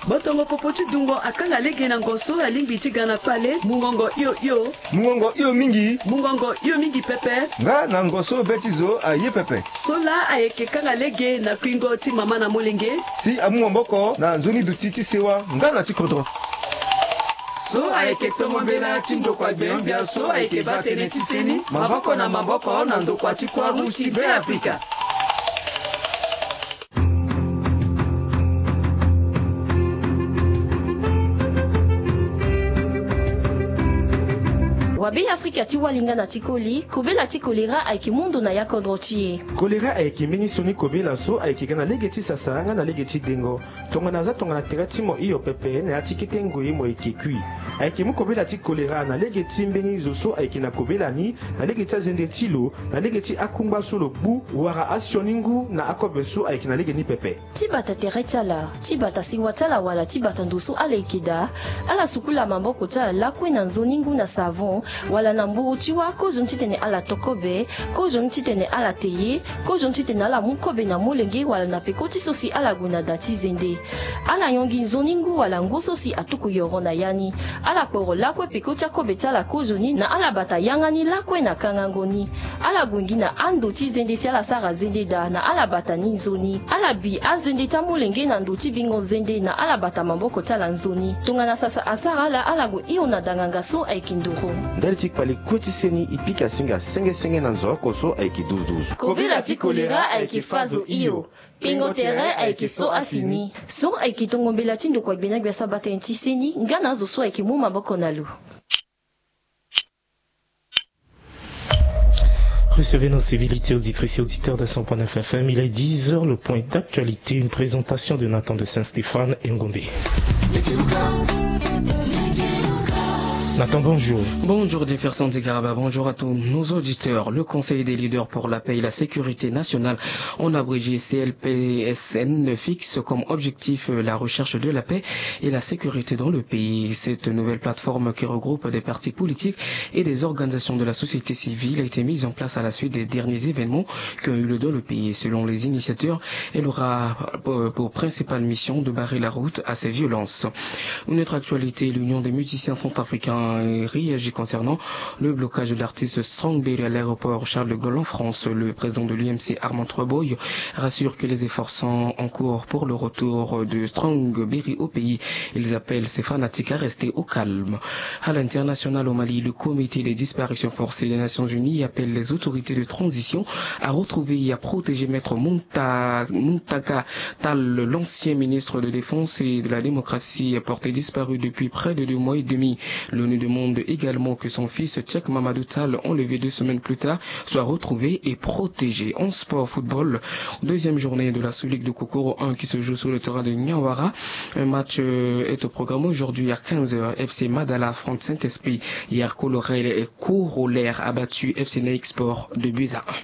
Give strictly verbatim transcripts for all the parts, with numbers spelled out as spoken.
Botongo popo ti dungo akanga lege na ngo so alingbi ti ga na kpale. Mungongo hio hio. Mungongo hio mingi. Mungongo hio mingi pepe. Nga na ngo so be ti zo aye pepe. So laa ayeke kanga lege na kuingo ti mama na molenge. Si amu maboko na nzoni duti ti sewa nga na ti kodro. So ayeke tongo mbela ti ndokua gbenyogbia so ayeke baa tënë ti seni maboko na maboko na ndokua ti Croix Rouge ti Beafrika. Wa Beafrika ti walinga na ti koli, kobela ti kolera ayeke mu ndo na ya kodro ti e. Kolera ayeke mbeni sioni kobela so ayeke ga na lege ti sasa nga na lege ti dengo. Tongana aza tongana tere ti mo hio pepe na ya ti kete ngoi mo yeke kui. Ayeke mu kobela ti kolera na lege ti mbeni zo so ayeke na kobela ni, na lege ti azende ti lo, na lege ti akungba so lo gbu, wala asioni ngu na akobe so ayeke na lege ni pepe. Ti bata tere ti ala, ti bata sewa ti ala wala ti bata ndo so ala yeke daa, ala sukula maboko ti ala lakue na nzoni ngu na savon, wala na mburu ti wâ, kozoni titene ala to kobe, kozoni titene ala te ye, kozoni titene ala mu kobe na molenge wala na peko ti so si ala gue na da ti zende. Ala yongi nzoni ngu wala ngu so si atuku yoro na ya ni. Ala kporo lakue peko ti akobe ti ala kozoni na ala bata yanga ni lakue na kangango ni. Ala gue gi na ando ti zende si ala sara zende daa na ala bata ni nzoni. Ala bi azende ti amolenge na ndo ti bingo zende na ala bata maboko ti ala nzoni. Tongana sasa asara ala, ala gue hio na danganga so ayeke ndoro. Ndali ti kpale kue ti seni, e pika singa senge senge na nzoroko so ayeke duzu duzu. Kobela ti kolera ayeke fazo hio. Pingo tere ayeke so afini. So ayeke tongo mbela ti ndokua gbenyogbia so abaa tënë ti seni nga na azo so ayeke mu maboko na lo. Recevez nos civilités, auditrices et auditeurs de cent point neuf F M. Il est dix heures, le point d'actualité, une présentation de Nathan de Saint-Stéphane et Ngombe. Nathan, bonjour. Bonjour Jefferson Zigaraba, bonjour à tous nos auditeurs. Le Conseil des leaders pour la paix et la sécurité nationale, en abrégé C L P S N, fixe comme objectif, euh, la recherche de la paix et la sécurité dans le pays. Cette nouvelle plateforme qui regroupe des partis politiques et des organisations de la société civile a été mise en place à la suite des derniers événements qui ont eu lieu dans le pays. Selon les initiateurs, elle aura, euh, pour principale mission de barrer la route à ces violences. Une autre actualité, l'Union des musiciens centrafricains, euh, réagit concernant le blocage de l'artiste Strong Berry à l'aéroport Charles de Gaulle en France. Le président de l'U M C, Armand Treboy, rassure que les efforts sont en cours pour le retour de Strong Berry au pays. Ils appellent ses fanatiques à rester au calme. À l'international, au Mali, le Comité des disparitions forcées des Nations Unies appelle les autorités de transition à retrouver et à protéger Maître Munta-, Muntaka Tall, l'ancien ministre de Défense et de la Démocratie, porté disparu depuis près de deux mois et demi. L'ONU demande également que son fils, Cheikh Mamadou Tall, enlevé deux semaines plus tard, soit retrouvé et protégé. En sport, football, deuxième journée de la Sous-Ligue de Kokoro un qui se joue sur le terrain de Niawara. Un match, euh, est au programme aujourd'hui à quinze heures. F C Madala affronte Saint-Esprit. Yarko Lorel et Corollaire a battu F C Naik Sport deux buts à un.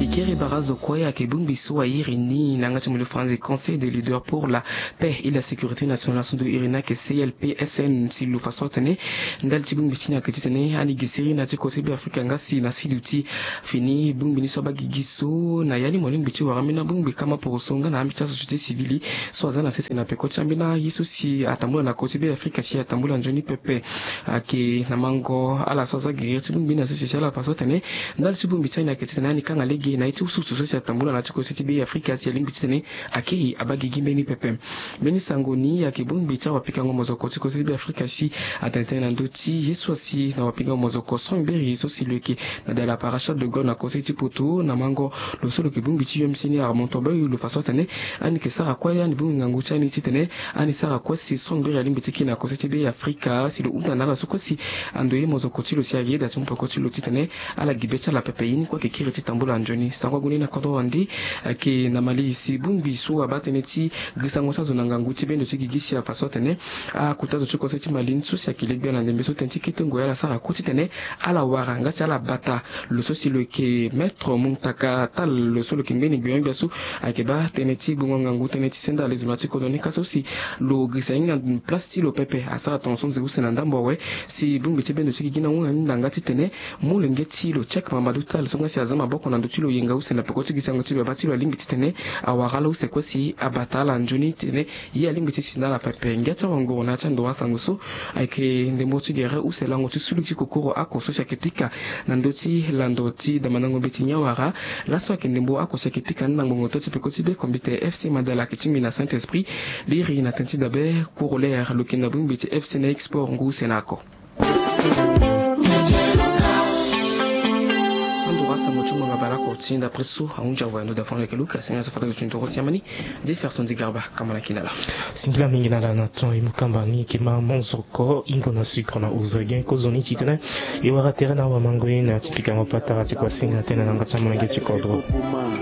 E kiri barazo kue ayeke bongbi so a iri ni na yanga ti mo ti faranzi Conseil des leaders pour la paix et la sécurité nationale so ndo iri ni ayeke C L P S N si lo fa so atene ndali ti bongbi ti ni ayeke titene ani gi siriri na ti kota ti Beafrika nga si na siduti fini bongbi ni so abaa gigi so na ya ni mo lingbi ti wara ambeni abongbi kama poroso nga na ambi ti asociété civile so aza na sese na peko ti ambeni aye so si atambula na kota ti Beafrika si atambula nzoni pepe. Ayeke na mango ala so aza gigi ti bongbi ni na sese si ala fa so atene ndali ti bongbi ti ani ayeke titene ani kanga lege na ye ti usutu so si atambula na ti kota ti Beafrika si alingbi titene akiri abaa gigi mbeni pepe. Mbeni sango ni ayeke bongbi ti awapikango mozoko ti kota ti Beafrika si atene tënë na ndö ti ye so asi na wapikango mozoko Strong Berry so si lo yeke na dala Parachal de Gaulle na kota ti poto na mango lo so lo yeke bongbi ti U M C ni Armand Treboy lo fa so atene ani yeke sara kue ani bongbi ngangu ti ani titene ani sara kue si Strong Berry alingbi ti kiri na kota ti Beafrika si lo hunda na ala so kue si ando ye mozoko ti lo si ayeda ti mu peko ti lo titene ala gi be ti ala pepe. Ye ni kue ayeke kiri ti tambula nzoni. Sango ague ni na kodro wande ayeke na Mali si bongbi so abaa tënë ti gisango ti azo na ngangu ti bendo ti gigi si afa so atene akota zo ti kota ti Mali ni so si ayeke le gbia na ndembe so tënë ti kete ngoi ala sara kue titene ala wara nga si ala bata lo so si lo yeke Maître Muntaka Tall lo so lo yeke mbeni gbenyogbia so ayeke baa tënë ti gbongo ngangu tënë ti senda lezo na ti kodro ni ka so si lo girisa hinga place ti lo pepe asara tongaso nze use na ndambo awe si bongbi ti bendo ti gigi ni ahunda nga titene molenge ti lo Cheikh Mamadou Tall so nga si aza maboko na ndö ti lo Nga use na peko ti gi sango ti baba ti lo alingbi titene awara ala use kue si abata ala nzoni titene ye alingbi ti si na ala pepe. Ngia ti awanguru na ya ti anduru asango so ayeke ndembo ti gere use lango ti sulu ti kokoro oko so si ayeke pika na ndö ti lando ti damandango mbeti ni awara. Laso ayeke ndembo oko si ayeke pika ni na ngbongo to ti peko ti be kombite FC Madala ayeke ti mbi na Saint-Esprit. Liri na tënë ti dabe corollaire lo yeke na bongbi ti FC Naik Sport ngu use na oko. Anduru asango ti mo nga bale oko ti ndapre so ahunzi awe ndo da fani leke luka sengela so fata zo ti ndoro siamani. Jefferson di Garba kama na kina la. Singila mingi na la na ton e mu kamba ni yeke ma monzoko ingo na sucre na ozagen kozoni titene e wara tere na awamango ye na ti pikango patara ti kuasinga tënë na yanga ti amolenge ti kodro.